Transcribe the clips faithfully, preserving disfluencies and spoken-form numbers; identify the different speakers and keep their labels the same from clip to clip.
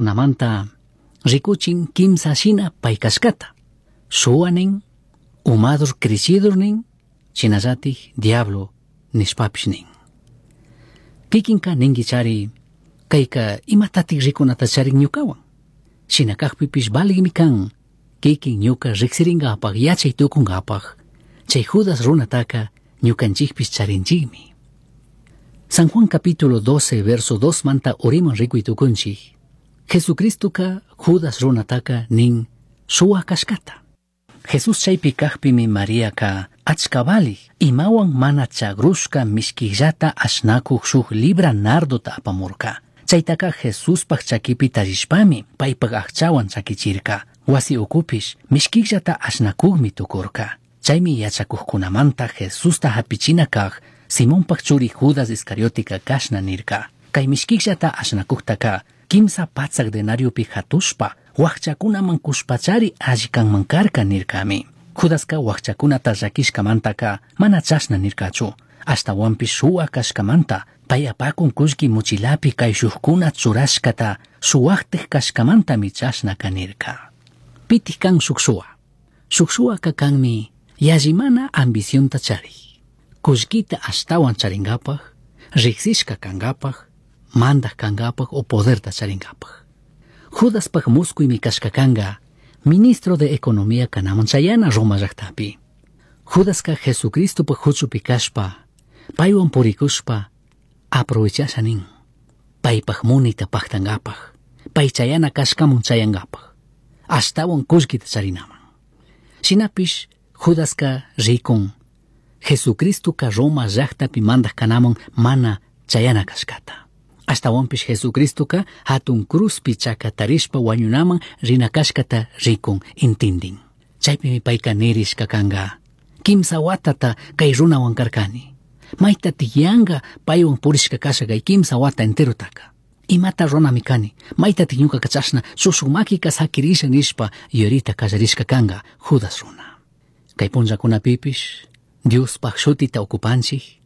Speaker 1: Namanta rikuchin kimsa shina pay kashkata. Shuwa nin, umadur cricidur nin, shinallatik diablo nishpapish nin. Kikinka ninkichari, kayka imatatik rikunata charin ñukawan. Shina kakpipish valigmi kan, kikin ñuka riksirinkapak yachay tukunkapak, chay Judas runataka ñukanchikpish charinchikmi. San Juan capítulo doce verso dos manta uriman rikuy tukunchik. Jesucristoka Judas runataka nin suwa kashkata. Jesús chaypi kakpimi Mariaka achka valik imawan mana chagrushka mishkillata ashnakuq shuk libra nardota apamurka. Chaytaka Jesuspaj chakipi tallishpami paypaj aqchawan chakichirka. Wasi ukupish mishkillata ashnakuqmi tukurka. Chaymi yachakuqkunamanta Jesusta hapichina kaq Simonpaj churi Judas Iscariotika kashna nirka. Kay mishkillata ashnakuqtaka kimsa patsak denariopi hatushpa wakchakunaman kushpachari alli kanman karka nirkami. Judaska wakchakunata llakishkamantaka mana chashna nirkachu. Ashtawanpish shuwa kashkamanta pay apakun kullki muchilapi kayshukkuna churashkata shuwaktik kashkamantami chashnaka nirka. Pitik kan shuk shuwa. Shuk shuwaka kanmi yallimana ambicionta charik. Kullkita ashtawan charinkapak, riksishka kankapak, mandak kankapak o poderta charinkapak. Judaspaj muskuymi kashka kanka, ministro de Economía kanaman chayana Roma llaktapi. Judaska Jesucristopaj huchupi kashpa, paywan purikushpa, aprovechasha nin. Paypaj munayta paktankapaj, pay chayana kashkamun chayankapaj, ashtawan kullkita charinaman. Shinapish Judaska rikun, Jesucristoka Roma llaktapi mandak kanaman mana chayana kashkata. Ashtawanpish Jesucristoka hatun cruzpi chakatarishpa wañunaman rina kashkata rikun intindin. Chaypimi payka nirishka kanka, kimsa watata kay runawan karkani. Mayta tiyanka paywan purishka kasha kay kimsa wata enterotaka. Imata runami kani, mayta ñuka chashna shushuk makika sakirisha nishpa yurita kallarishka kanka Judas runa. Kay punllakunapipish Diospaj shutita okupanchik,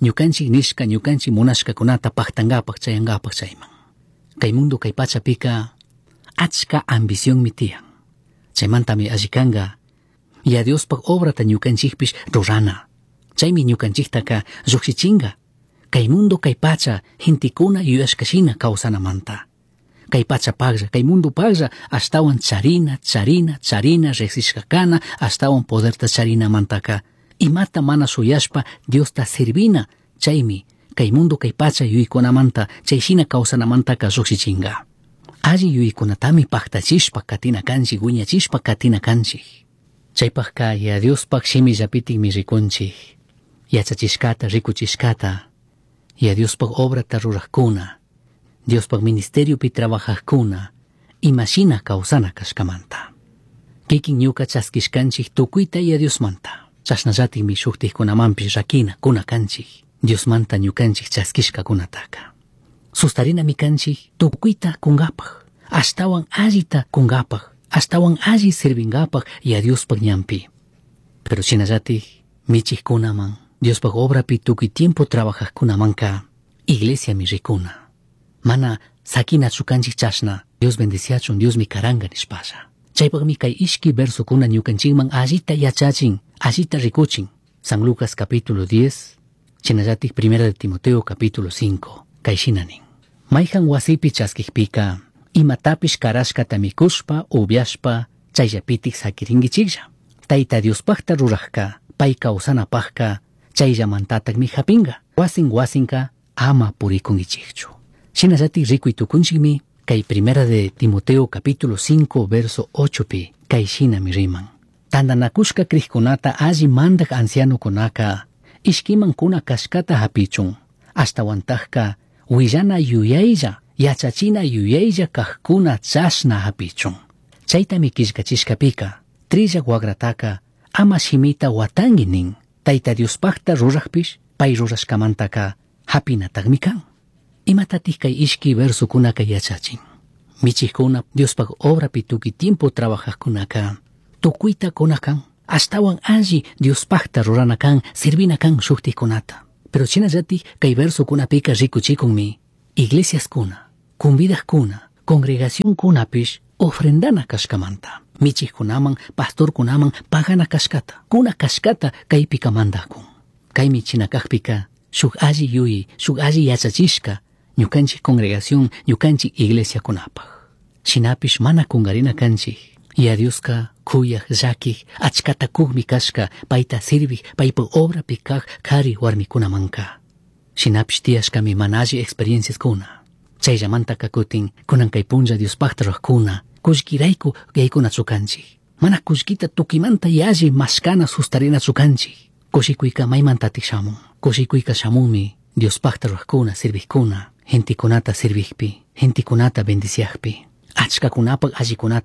Speaker 1: ñukanchik nishka ñukanchik munashkakunata paktankapaj chayankapaj chayman. Kay mundo kay pachapika achka ambicionmi tiyan. Chaymantami alli kanka ya Diospaj obrata ñukanchikpish rurana. Chaymi ñukanchiktaka lluqshichinka. Kay mundo kay pacha gentekuna yuyashkashina kawsanamanta. Kay pacha paglla, kay mundo paglla ashtawan charina, charina, charina riqsishka kana, ashtawan poderta charinamantaka. Imata mana shuyashpa Diosta servina, chaymi kay mundo kay pacha yuyaykunamanta chayshina kawsanamantaka lluqshichinka. Alli yuyaykunatami paktachishpa katina kanchik, wiñachishpa katina kanchik. Chaypajka ya Diospaj shimillapitikmi rikunchik. Yachachishkata, rikuchishkata, ya Diospaj obrata rurajkuna, Diospaj ministeriopi trabajajkuna, imashina kawsana kashkamanta. Kikin ñuka chaskishkanchik tukuyta ya Diosmanta. Chashnallatikmi shuktikkunamanpish rakina kuna kanchik, Diosmanta ñukanchik chaskishkakunataka. Sustarinami kanchik tukuyta kunkapaj, ashtawan allita kunkapaj, ashtawan alli sirvinkapaj ya Diospaj ñanpi. Pero shinallatik michikkunaman, Diospaj obrapi tukuy tiempo trabajajkunamanka, iglesiami rikuna. Mana sakinachu kanchik chashna, Dios bendiciachun, Diosmi karanka nishpalla. Chaypaqmi kay ishki versokuna ñukanchikman allita yachachin, allita rikuchin. San Lucas capítulo diez, shinallatik primera de Timoteo capítulo cinco, kay shina nin. Mayhan wasipi chaskikpika, imatapish karashkata mikushpa, ubyashpa, chayllapitik sakirinkichiklla. Tayta Diospajta rurajka, pay kawsanapajka, chayllamantatakmi hapinka. Wasin wasinka ama purikunkichikchu. Shinallatik rikuy tukunchikmi, kay primera de Timoteo capítulo cinco verso ocho pi, kay shinami riman. Tantanakushka krikkunata alli mandak ancianokunaka, ishkiman kuna kashkata hapichun, ashtawantajka willana yuyaylla, yachachina yuyaylla kajkuna chashna hapichun. Chaytami killkachishkapika, trillak wagrataka ama shimita watanki nin, Tayta Diospajta rurajpish, pay rurashkamantaka hapinatakmi kan. Imatatik kay ishki versokunaka yachachin. Michikuna Diospaj obrapi tukuy tiempo trabajajkunaka, tukuyta kuna kan, ashtawan alli Diospajta rurana kan, sirvina kan shuktikkunata. Pero shinallatik kay versokunapika rikuchikunmi, iglesiaskuna, convidajkuna, Congregacionkunapish ofrendana kashkamanta. Michijkunaman, pastorkunaman pagana kashkata. Kuna kashkata kaypika mandakun. Kaymi china kakpika shuk alli yuyay, shuk alli yachachishka ñukanchik congregación, ñukanchik iglesiakunapaj. Shinapish mana kungarina kanchik. Yaya Dioska kuyaj, llakij, achkata kukmi kashka, payta sirvij, paypa obrapi kaj kari warmikunamanka. Shinapish tiyashkami mana alli experienciaskuna. Chayllamantaka kutin kunan kay punlla Diospakta rurakuna, kullkirayku yaykunachu kanchik. Mana kullkita tukimanta yalli mashkana sustarinachu kanchik. Kushikuyka maymantatik shamun. Kushikuyka shamunmi Diospakta rurakuna, sirvijkuna, gentekunata sirvijpi, gentekunata bendiciajpi, achkakunapak allikunata